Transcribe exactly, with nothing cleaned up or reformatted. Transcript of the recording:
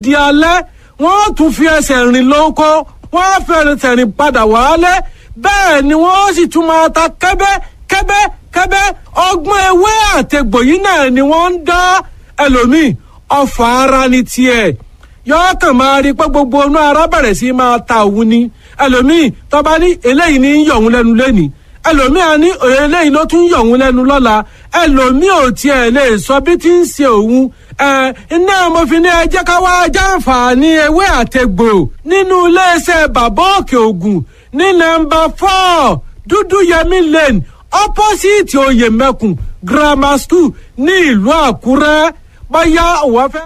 Di alẹ́, wọ́n tún fi ẹsẹ̀ rìn lóko, wọ́n fi ẹsẹ̀ rìn padà wálé. Bẹ́ẹ̀ ni wọ́n sì tún máa ta kẹ́bẹ́ kẹ́bẹ́ kẹ́bẹ́. Ọgbọ́n ewé àtegbò yìí náà ni wọ́n ń dá. Ẹlòmíì, ọfà ara ni tiẹ̀, yọ̀ọ́ kàn máa rí pé gbogbo inú ara bẹ̀rẹ̀ sí máa ta òun ni. Ẹlòmíì tọ́ba ní eléyìí ní yọ̀ òun lẹ́nu lẹ́nìí, ẹlòmíì á ní eléyìí ló tún yọ̀ òun lẹ́nu lọ́la. Ẹlòmíì ò tiẹ̀ lè sọ bí ti ń ṣe òun. Ẹ iná mo fi ní ẹ jẹ́ ká wá jàǹfààní ewé àtegbò nínú iléeṣẹ́ Bàbá Òkè Ògùn ní nọ́mbà four, Dúdú Yẹmí Lane, opposite Oyèmẹkùn Grammar School ní ìlú Àkúrẹ́. Bóyá òwò fẹ́.